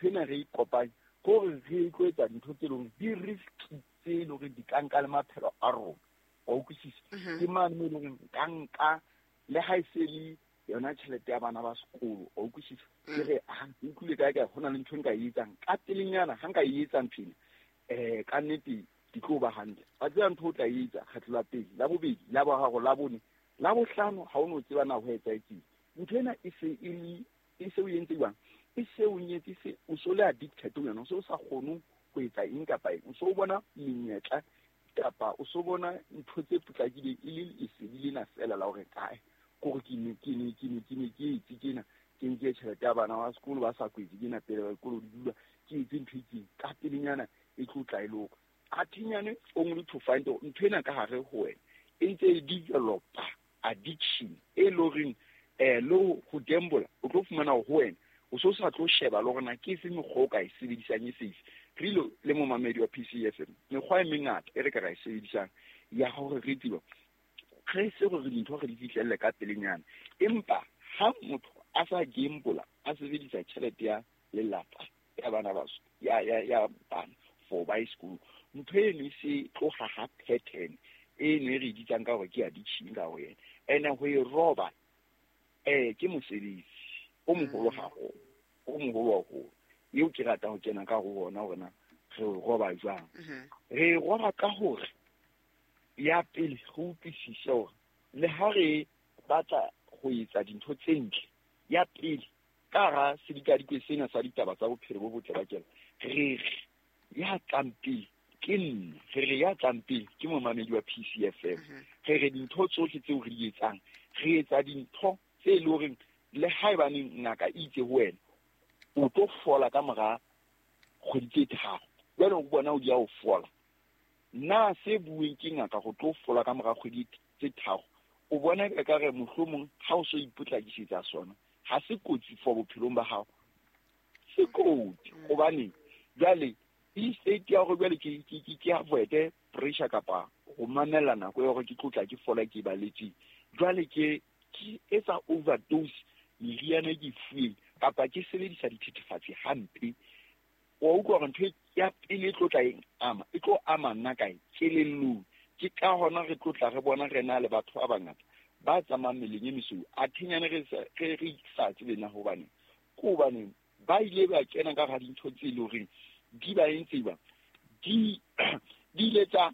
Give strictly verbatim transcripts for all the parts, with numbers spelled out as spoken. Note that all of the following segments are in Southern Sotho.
ntho ena re e kopanye ke hore re tlo etsa dintho tse leng di risky tse leng hore di ka nka le maphelo a rona. Wa utlwisisa? Ke mane mo e leng hore nka nka le ha e se le yona tjhelete ya bana ba sekolo. Wa utlwisisa? Ke re ha ke utlwile kae kae ho na le ntho e nka e etsang ka pelenyana ha nka e etsa ntho ena eh ka nnete di tlo ba hantle. Wa tseba ntho o tla e etsa kgetlo la pele, la bobedi, la boraro, la bone, la bohlano ha o no tseba na ho etsahetseng. Ntho ena e se e le e se o entse jwang? E se o nyetse se o so le addicted ho yona, o se o sa kgone ho etsa eng kapa eng. O so o bona menyetla kapa o so bona ntho tse potlakileng e le lesedi lena feela la hore kae kore ke ne ke ne ke ne ke ne ke etse tjena, ke nke tjhelete ya bana ba sekolo ba sa kwetse tjena pele ba dikolo di dula, ke etse ntho e itseng ka pelenyana e tlo tla e loka. Athinyane only to find out ntho ena ka hare ho wena e ntse e developa addiction e leng horeng eh le ho gamble o tlo fumana hore ho wena o so sa tlo sheba le hore na ke efe mekgwa o ka e sebedisang e safe. Re ile le momamedi wa P C F M, mekgwa e mengata e re ka ra e sebedisang ya hore re tsebe re se hore dintho re di fihlelle ka pelenyana. Empa ha motho a sa gamble a sebedisa tjhelete ya lelapa ya bana ba ya ya ya bana for buy school, ntho eno e se tloha ha pattern e ne re bitsang ka hore ke addiction ka ho yena. Ene ho e roba eh ke mosebetsi o moholo haholo, o moholo haholo eo ke ratang ho kena ka ho ona hore na re o roba jwang. Re roba ka hore ya pele re utlwisise hore le ha re batla ho etsa dintho tse ntle, ya pele ka hara sedikadikwe sena sa ditaba tsa bophelo bo botle ba kelello, re re ya tlang pele ke nna, re re ya tlang pele ke momamedi wa P C F M. Re re dintho tsohle tseo re di etsang, re etsa dintho tse leng hore le haebaneng ngaka e itse ho wena o tlo fola ka mora kgwedi tse tharo, jwale o bona o di ya ho fola. Na se bueng ke ngaka go tlo fola ka mora kgwedi tse tharo, o bona e ka re mohlomong ha o so ipotlakisetsa sona ha se kotsi for bophelong ba hao, se kotsi. Hobane jwale e state ya hore jwale ke ke ke ke avoid pressure kapa ho mamella nako ya hore ke tlotla ke fola ke baletse, jwale ke ke etsa overdose meriana e ke e fuweng kapa ke sebedisa dithethefatsi hampe. Wa utlwa hore ntho ya pele e tlo tla e ama, e tlo ama nna kae? Kelellong. Ke ka hona re tlo tla re bona re na le batho ba bangata ba tsamayang meleng e mesweu, athinyane re sa re re sa tsebe na hobane ke hobane ba ile ba kena ka hara dintho tse leng horeng di ba entse ba di di ile tsa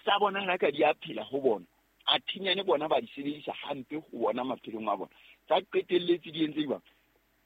tsa bonahala ka di a phela ho bona, athinyane bona ba di sebedisa hampe ho bona maphelong a bona, tsa qetelletse di entse jwang?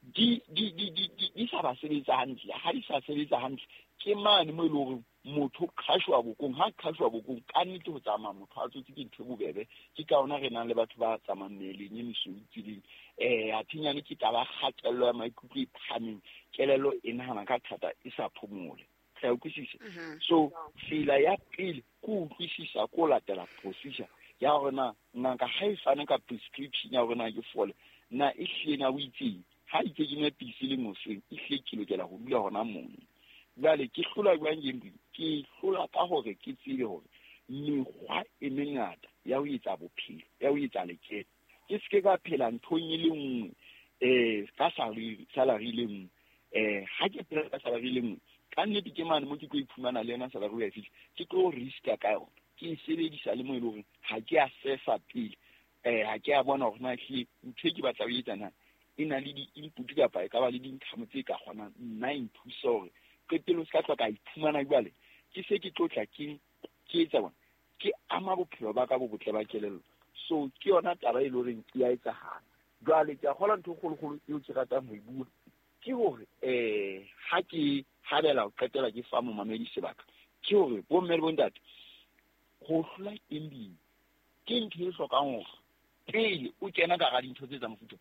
Di di di di di sa ba sebetsa hantle. Ha di sa sebetsa hantle ke mane mo e leng hore motho qhashwa bokong, ha qhashwa bokong ka nnete ho tsamaya motho a tsotse ke ntho e bobebe. Ke ka hona re nang le batho ba tsamayang meleng e mesweu tseleng. Eh athinyane ke taba ya kgatello ya maikutlo e phahameng, kelello e nahana ka thata e sa phomole. Re a utlwisisa? So tsela ya pele ke ho utlwisisa, ke ho latela procedure ya hore na ngaka ha e fane ka prescription ya hore na ke fole, na e hlile na o itseng ha itse ke nwe pilisi le moseng, e hlile ke lokela ho dula hona mono. Jwale ke hlola jwang gambling? Ke hlola ka hore ke tsebe hore mekgwa e mengata ya ho etsa bophelo, ya ho etsa lekeno. Ke se ke ka phela nthong e le nngwe eh ka salary, salary le nngwe. Eh ha ke phela ka salary le nngwe, ka nnete ke mane mo ke tlo iphumana le yona salary ya fihla, ke tlo riska ka yona. Ke e sebedisa le mo e leng hore ha ke a sefa pele, eh ha ke a bona hore na ehlile ntho e ke batla ho etsa na e na le di-input kapa e ka ba le di-income tse ka kgonang nna e nthusa hore qetellong se ka tloha ka iphumana jwale ke se ke tlo tla ke ke etsa bona ke ama bophelo ba ka bo botle ba kelello. So ke yona taba e leng horeng e a etsahala. Jwale ke a kgolwa ntho e kgolokgolo eo ke ratang ho e bua ke hore eh ha ke habela ho qetela ke fa momamedi sebaka, ke hore bomme le bontate ho hlola gambling ke ntho e hlokang hore pele o kena ka hara dintho tse tsa mofuta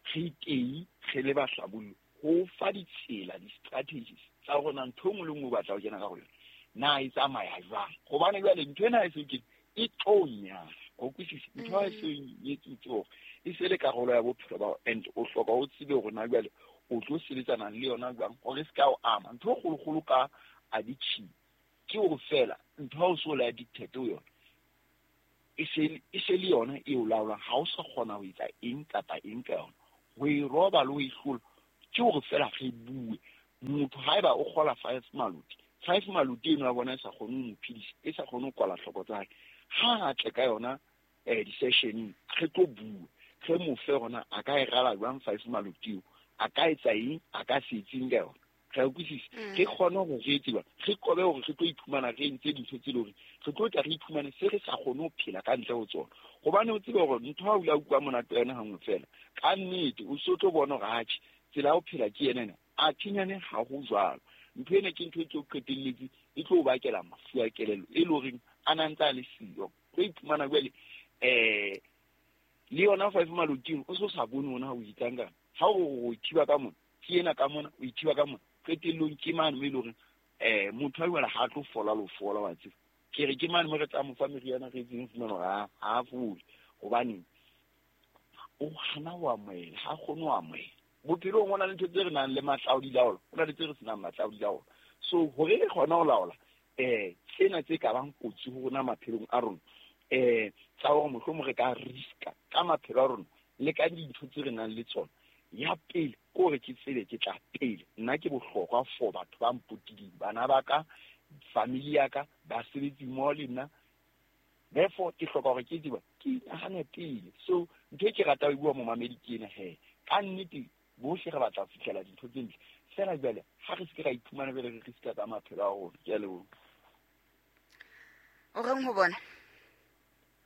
re teng re le bahlabolli ho fa ditsela, di-strategies tsa hore na ntho e nngwe le nngwe o batla ho kena ka ho yona na e tsamaya jwang. Hobane jwale ntho ena ha e se kene e tlo nyala, o utlwisise? Ntho ha e se nyetsutse hore e se le karolo ya bophelo ba hao, and o hloka o tsebe hore na jwale o tlo sebetsana le yona jwang hore e se ka o ama. Ntho e kgolokgolo ka addiction ke hore feela ntho ha o so le addicted ho yona e se e se le yona e o laolang, ha o sa kgona ho etsa eng kapa eng ka yona. Ho e roba le ho e hlola ke hore feela re bue Motho haeba o kgola five maluti, five maluti eno ya bona e sa kgone ho mo phedisa, e sa kgone ho kwala hloko tsa hae. Ha a tle ka yona eh di-sessioneng, re tlo bua, re mo fe hona a ka e rala jwang five maluti eo, a ka etsa eng, a ka se etseng ka yona. Re a utlwisisa? Re kgone hore re etse jwang, re qobe hore re tlo iphumana re entse dintho tse leng hore re tlo tla re iphumane se re sa kgone ho phela ka ntle ho tsona. Hobane o tsebe hore ntho ha o ile a utlwa monate wa yona hanngwe fela, ka nnete o so tlo bona hore atjhe, tsela ya ho phela ke ena ena. Atjhe nyane ha ho jwalo. Ntho ena ke ntho e tlo qetelletse e tlo o bakela mafu a kelello e leng horeng a na ntse a le siyo. Tlo iphumana jwale eh le yona five maluti o so sa bone hona ha o etsang ka. Ha o o ithiba ka mona, ke ena ka mona, o ithiba ka mona. Qetellong ke mane mo e leng hore eh motho a jwale ha tlo fola lo fola wa tseba. Ke re ke mane mo re tla mo fa meriana re etseng fumana hore ha ha fole. Hobane o hana ho amohela, ha kgone ho amohela. Bophelong ho na le ntho tse re nang le matla a ho di laola, ho na le tse re senang matla a ho di laola. So hore re kgone ho laola eh tsena tse ka bang kotsi ho rona maphelong a rona, eh tsa hore mohlomong re ka riska ka maphelo a rona le ka dintho tse re nang le tsona. Ya pele ke hore ke tsebe ke tla pele, nna ke bohlokwa for batho ba mpotileng, bana ba ka, family ya ka, basebetsi mmoho le nna. Therefore ke hloka hore ke tsebe ke nahane pele. So ntho e ke ratang ho bua momamedi ke ena he, ka nnete bohle re batla ho fihlela dintho tse ntle. Feela jwale ha re se ke ra iphumana jwale re riska ka maphelo a rona. Ke a leboha. O reng ho bona?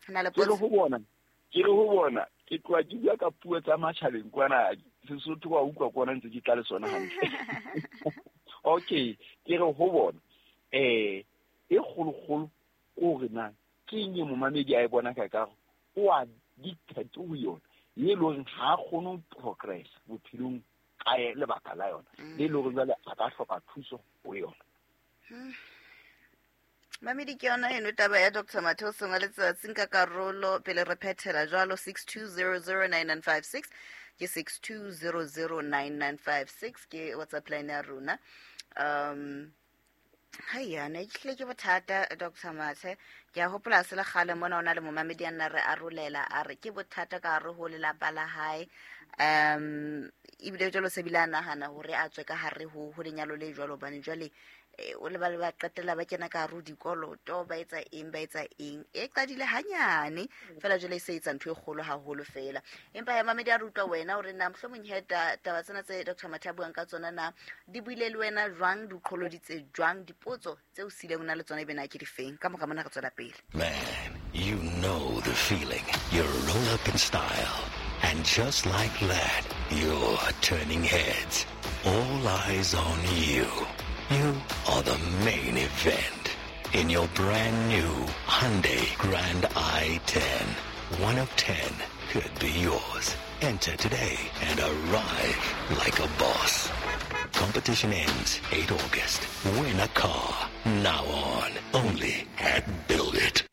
Na le Ke re potso? ho bona, ke re ho bona, ke tloha ke bua ka puo tsa matjhabeng kwana, Sesotho wa utlwa kwana ntse ke tla le sona hantle. Okay, ke re ho bona, eh e kgolokgolo ke hore na ke eng e momamedi a e bona ka kare o addicted ho yona, e leng hore ha a kgone ho progress bophelong ka lebaka la yona, le leng hore jwale a ka hloka thuso ho yona. Mamedi ke yona eno taba ya Doctor Mathe o seng wa letsatsi. Nka karolo pele re phethela jwalo six two zero zero nine nine five six ke six two zero zero nine nine five six ke WhatsApp line ya rona. Um hai ne ke hlile ke bothata Doctor Mathe. Ke a hopola se le kgale mona o na le momamedi a nna re arolela a re ke bothata ka hare ho lelapa la hae. Um ebile jwalo se bile a nahana hore a tswe ka hare ho ho lenyalo le jwalo, hobane jwale o le ba le ba qetella ba kena ka hare ho dikoloto, ba etsa eng, ba etsa eng. E qadile hanyane fela jwale e se etsa ntho e kgolo haholo fela. Empa ya mamedi a re utlwa wena hore na mohlomong he taba tsena tse Doctor Mathe a buang ka tsona na di buile le wena jwang, di o qholoditse jwang, dipotso tse o sileng o na le tsona ebe na ke difeng. Ka mora mona re tswela pele. Man, you know the feeling. You roll up in style. And just like that, you're turning heads. All eyes on you. You are the main event in your brand new Hyundai Grand i ten. One of ten could be yours. Enter today and arrive like a boss. Competition ends eighth August. Win a car now on only at Build It.